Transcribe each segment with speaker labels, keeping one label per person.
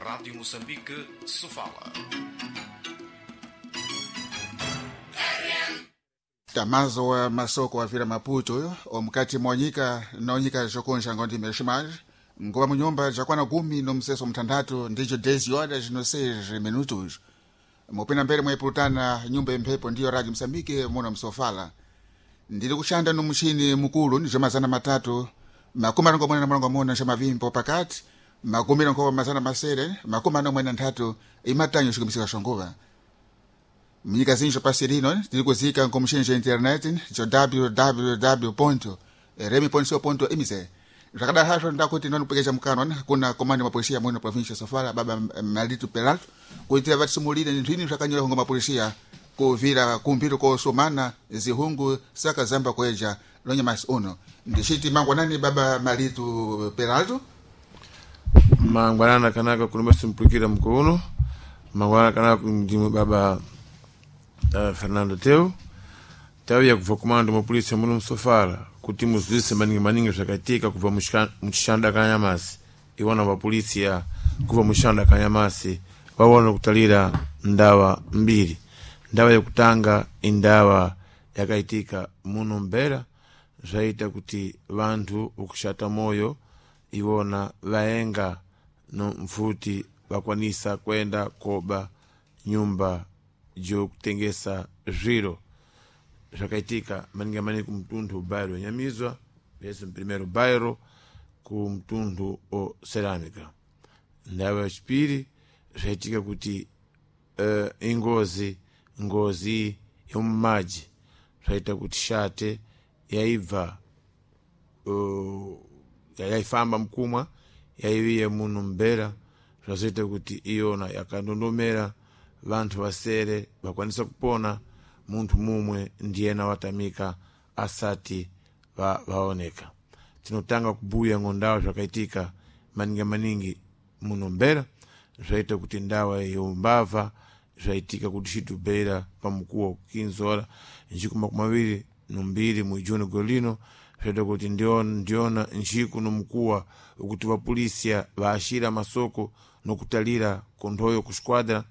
Speaker 1: Rádio Moçambique, Sofala.
Speaker 2: Tamazo wa masoko wa vila Maputo omukati mwanyika nonyika zokonja ngondi meshimaj ngoba munyumba jakwana gumi no mseso mtandatu ndijo 10 horas no 6 minutos mupina mbele mwaipulutana nyumba imphepo ndiyo Radio Msambike muno msofala ndili kushanda no mushini mukulu ndijo mazana matatu makumi arongo mwena na marongo mona nja mavimbo pakati makumi arongo mazana masere makumi ano mwena nthatu imatanyo xikumisika xonguva mnyika zinjo pasi lino tili kuzika nkomuxini xa internet jo www remi co mz zvakadaro hazvo ndakuti nonipwekecha mukanwa kuna komando mapolisia muno provincia sofala baba Malitu Peralto kuitira vatisumulire ninthu ini zvakanyora hunga mapolisia kuvira kumpiro kosomana zihungu saka zamba kueja lonyamasi uno ndixiti mangwanani baba Malitu Peralto.
Speaker 3: Mangwanana kanaka kulumba simpukira mkuuno mangwanana kanaka ndimwe baba Fernando Teu tau ya kubva kumando mapolisi muno msofala kuti muzwise maningi maningi zvakaitika kubva muchishanda kanyamasi iwona vapolisi ya kubva muchishanda kanyamasi vaona kutalira ndawa mbiri. Ndawa yokutanga indawa yakaitika muno mbera zvaita kuti vanthu ukushata moyo iwona vaenga no mfuti vakwanisa kwenda koba nyumba jokutengesa zviro zvakaitika maningi maningi kumtundu bairo wenyamizwa vese primeiro bairo kumtundu o cerâmica. Ndawa yachipiri zvaitika kuti ingozi ngozi yomumaji zvaita kuti shate yaibva yaifamba mkumwa yaiviya muno mbera zvazoita kuti iyona yakandondomera vanthu vasere vakwanisa kupona munthu mumwe ndiyena watamika asati vaoneka. Tinotanga kubuya ngondawa zvakaitika maningi maningi muno mbera zvaita kuti ndawa yombava zvaitika kuti xitubeira pamukuwo 15 horas njiku makumi mawiri nombiri mu juni golino zvaita kuti ndiona njiku nomukuwa ukuti vapolisia vaashira masoko nokutalira konthoyo ku squadra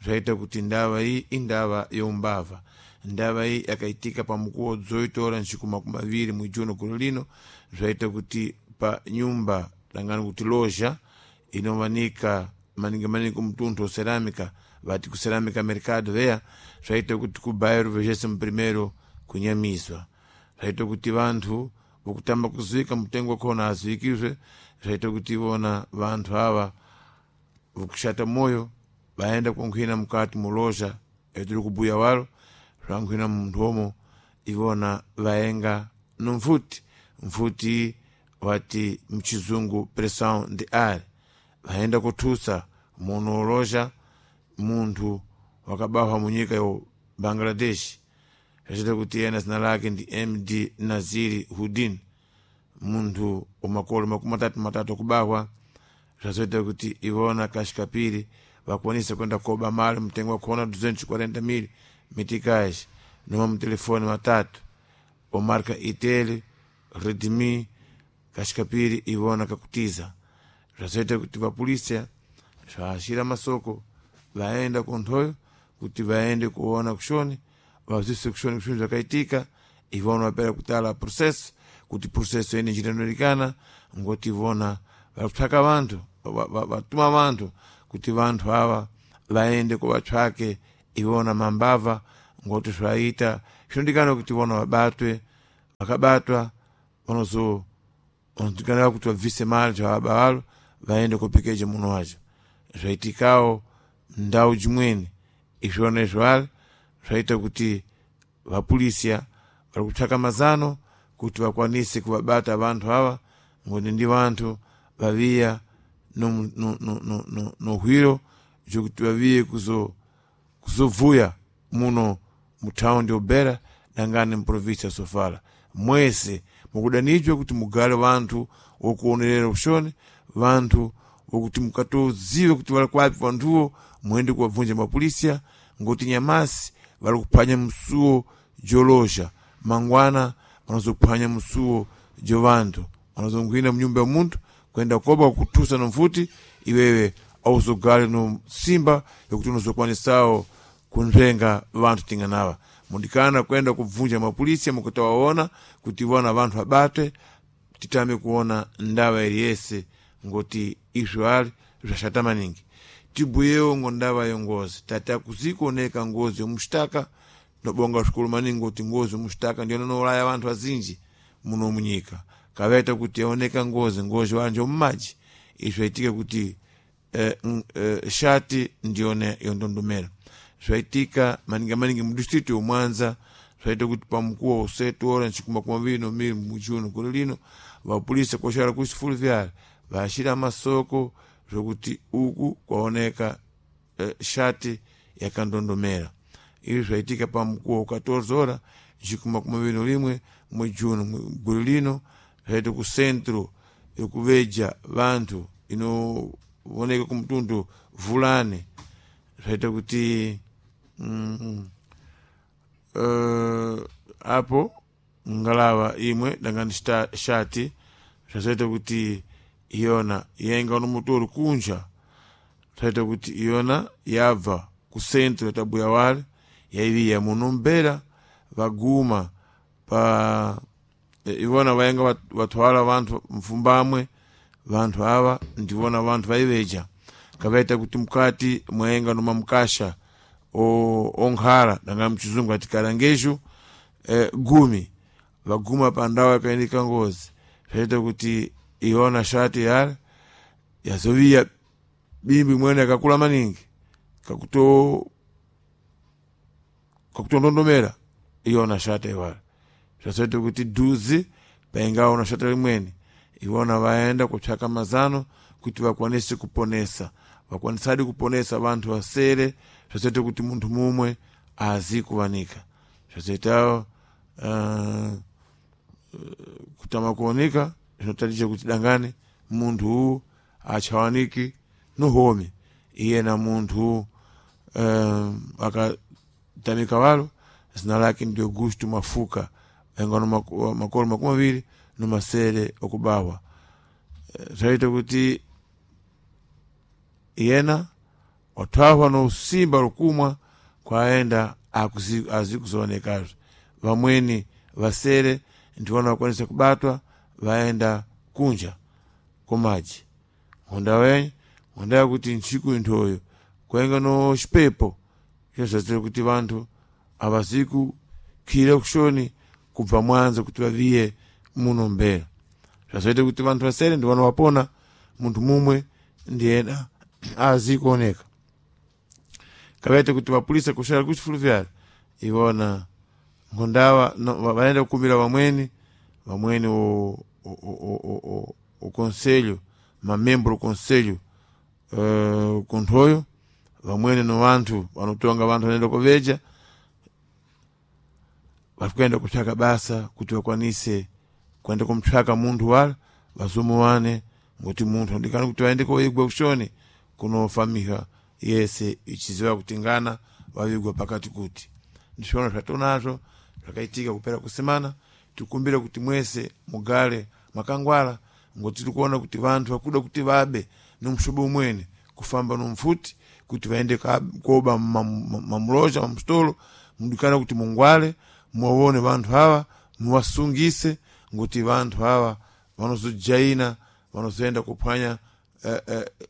Speaker 3: zvaita kuti ndawa iyi indawa youmbava. Ndawa iyi yakaitika pamukuwo 18 horas njiku makumi mawiri mu juni golino zvaita kuti pa nyumba dangani kuti loja inovanika maningi maningi kumtundu cerâmica vati ku cerâmica mercado veya zvaita kuti ku bairro vigésimo primeiro kunyamizwa zvaita kuti vanthu vokutamba kuzuika mutengo wakhona azuikizve zvaita kuti vona vanthu ava vokushata moyo vaenda kunkhwina mukati muloja etiri kubuya walo zvankhwina munthu omo ivona vaenga nomfuti mfuti wati mchizungu pressão de ar vaenda kuthusa muno uloja munthu wakabahwa munyika yo Bangladesh zvachita kuti ena zina lake ndi MD Naziri Hudin munthu umakolo makumi matatu matatu akubahwa zvazoita kuti ivona kashikapiri vakwanisa kwenda koba mali mtengo wakhona 240,000 meticais noma mutelefone matatu omarka Itel Redmi kashikapiri ivona kakutiza zvazoita kuti vapolisia zvaashira masoko vaenda konthoyo kuti vaende kuona kushoni vazise kushoni kushoni zvakaitika ivona vapera kutala processo kuti processo ene njiranolikana ngoti ivona vakutsvaka vanthu vatuma vanthu kuti vanthu ava vaende kuvatsvake ivona mambava ngoti zvaita zvinodikana kuti ivona vabatwe vakabatwa vanozo vanodikana kuti vabvise mali zvavaba valo vaende kopekeja muno wacho zvaitikawo ndau jimweni izvona izvo zvaita kuti vapolisia vari kutsvaka mazano kuti vakwanise kuvabata vanthu ava ngoti ndi vanthu vaviya nohwiro jokuti vaviye kuzobvuya muno muthaundi obera dangani muprovinsia ya Sofala mwese mukudanijwa kuti mugale vanthu wokuonerera kushoni vanthu wokuti mukatozive kuti vari kwapi vanthuwo muende kuwabvunja mapolisia ngoti nyamasi vari kuphwanya msuwo joloja mangwana vanozophwanya msuwo jo vanthu vanozonghwina munyumba ya munthu kwenda koba kuthusa nomfuti iwewe Auzogale no simba yokuti unozokwanisawo kunzvenga vanthu tinganawa. Mudikana kwenda kubvunja mapolisi mukutawaona kuti vona vanthu abatwe, titame kuona ndawa iliyese ngoti izvo ali zvashata maningi. Tibuyewo ngo ndava yongozi, tati akuzikuoneka ngozi yomushtaka. Nobonga zvikulu maningi kuti ngozi yomushtaka ndiyona noulaya vanthu azinji muno munyika. Kavaita kuti yaoneka ngozi, ngozi wanje mumaji, izvo zvaitike kuti shati ndiyona yondondomera. Zvaitika maningi maningi mudistritu yomwanza. Zvaita kuti pamukuwo usetu ora nchikuma kumaviri nomiri mujuno gore lino, vapolisi koshara kuchifulu vyale vashira masoko zvokuti uku kwaoneka shati yakandondomera. Izvi zvaitika pamukuwo 14 ora nchikuma kumaviri nolimwe mwejuno gore lino. Zvaita ku centro yokuveja vanthu inooneka kumtundu Vulane. Zvaita kuti apo ngalava imwe dangani shati, zvazoita kuti iyona yainga no motoro kunja. Zvaita kuti iyona yabva ku centro yatabuya wale yaiviya muno mbera, vaguma pa ivona vainga vatwala vanthu mfumbamwe. Vanthu ava ndivona vanthu vaiveja. Kavaita kuti mukati mwaenga noma mukasha onkhala, danga mchizungu ati karangejo, 10. Vaguma pa ndawu yakaendeka ngozi. Zvaita kuti iona shati yale yazoviya bimbi mwene yakakula maningi kakutondondomera iona shati iwale. Zvazoita kuti dhuzi paingaona shati limweni, iwona vaenda kutsvaka mazano kuti vakwanise kuponesa. Vakwanisadi kuponesa vanthu vasere. Zvazoita kuti munthu mumwe azi kuwanika. Zvazoitawo kutama kuoneka zvinotatija kuti dangani munthu uwu achawaniki nohomi iyena. Munthu akatamika walo zina lake ndi Augusto Mafuka, ainga no makolo 27 okubawa. Zvaita kuti iyena wathwahwa no simba lokumwa kwaenda azikuzoonekazve. Vamweni vasere ndiwona vakwanisa kubatwa, vaenda kunja komaji. Ngonda wenye ngonda yakuti ntsiku inthoyo kwainga no xipepo izvo kuti vanthu avazikukhira kuxoni kubva mwanza kuti vaviye muno mbera. Zvazoita kuti vanthu vasere ndiwona wapona, munthu mumwe ndiyena azikuoneka. Kavaita kuti vapulisa kuxala kuchifulu vyale ivona ngondawa vaenda kukumira vamweni vamweni o conselho, mamembro conselho kunthoyo, vamweni no vanthu vanotonga vanthu vanoenda kuveja, vari kuenda kutsvaka basa kuti vakwanise kuenda kumtsvaka munthu wala vazomuwane, ngokuti munthu andikani kuti vaende koigwa kuxoni kunofamiha yese ichiziva kuti ngana vavigwa pakati. Kuti ndizvona zvatonazvo zvakaitika kupera kusemana. Tikumbire kuti mwese mugale mwakangwala, ngoti tiri kuona kuti vanthu vakuda kuti vabe nomushobo umweni kufamba nomfuti kuti vaende koba mamuloja, mamusitolo. Mudikana kuti mungwale, muwaone vanthu ava, muwasungise, ngoti vanthu ava vanozojaina, vanozoenda kuphwanya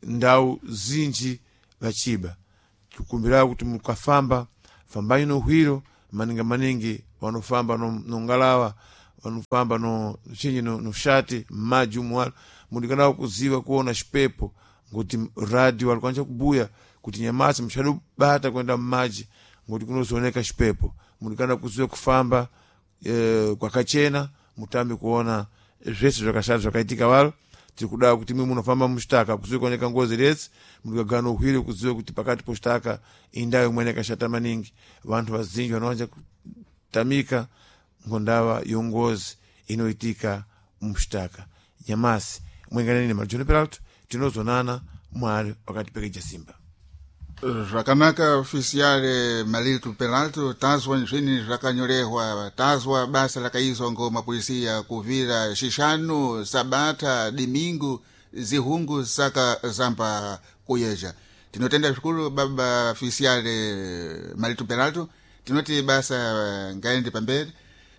Speaker 3: ndau zinji vachiba. Tikumbirawo kuti mukafamba fambanyi nohwiro maningi maningi vanofamba nongalawa, vanofamba no chinyi, no shati mmaji umu walo, mudikana kuziva kuona xipepo, ngokuti radio alikwanisa kubuya kuti nyamasi muchadobata kuenda mmaji ngokuti kunozooneka xipepo. Mudikana kuziva kufamba kwakachena, mutambe kuona zvese zvakashata zvakaitika walo. Tiri kuda kuti mwe munofamba muxitaka kuzive kuoneka ngozi rese, mudikagara nohwiro kuziva kuti pakati poxitaka indau imweni yakashata maningi, vanthu vazinji vanowanja kutamika ngondava yongozi inoitika muxitaka. Nyamasi mwenganeni Marjono Peralto, tinozonana Mwari wakatipekeja simba.
Speaker 2: Zvakanaka, ofisiale Malito Peralto. Tazwa nzvini zvakanyorehwa, tazwa basa lakaizwa ngo mapolisia kuvira xixanu, sabata, dimingu, zihungu saka zamba. kuyeja. Tinotenda zvikuru baba fisiale Marito Peralto, tinoti basa ngaende pamberi.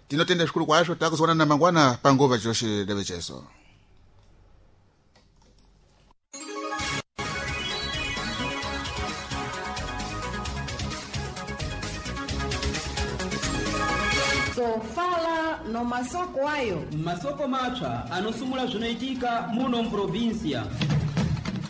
Speaker 2: Tinotenda zvikuru kwazvo, takuzoonana mangwana panguva joshe devecheso.
Speaker 4: Sofala no masoko ayo.
Speaker 5: Masoko mapsa anosumula zvinoitika muno muprovinsia.